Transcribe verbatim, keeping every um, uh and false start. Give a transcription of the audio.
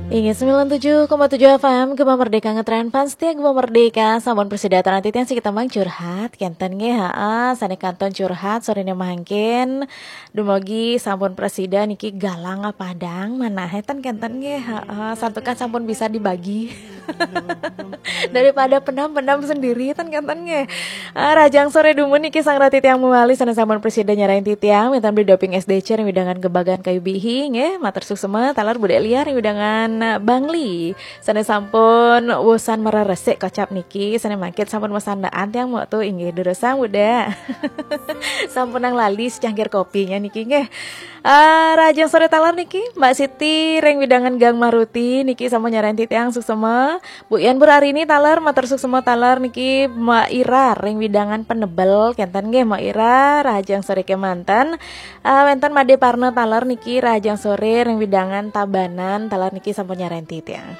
Inggih, sembilan tujuh koma tujuh F M, Gema Merdeka ngetren fans setia Gema Merdeka, sampun prasida taler titiang siki tembang curhat, kenten nggih, ha, sane kantun curhat, sorene mangkin, dumugi sampun prasida niki galang padang, manahe ten kenten nggih, ha, santukan sampun bisa dibagi. Daripada pendam-pendam sendiri, ten kenten nggih. Ah, rahajeng sore dumun niki sareng titiang mawali sane sampun prasida nyarengin titiang, wenten Bli Doping S D C ring wewidangan Gebagan Kayu Bihi, nggih, matur suksma, taler Budek Liar ring wewidangan Bangli. Sane sampun wusan mareresik kocap niki, sane mangkin sampun masandaan tiang mok tu, inggih, durusang Budek. Sampunang lali secangkir kopinya niki, nggih. Ah, rahajeng sore taler niki, Mbak Siti ring wewidangan Gang Maruti niki sampun nyarengin titiang suksma. Bu Yan, Bu Rarini taler, matur suksma taler niki, Mbak Ira ring wewidangan Penebel, kenten nggih Mbak Ira, rahajeng sore kemanten. Ah, wenten Made Parna taler niki, rahajeng sore ring wewidangan Tabanan, taler niki sampun nyarengin titiang.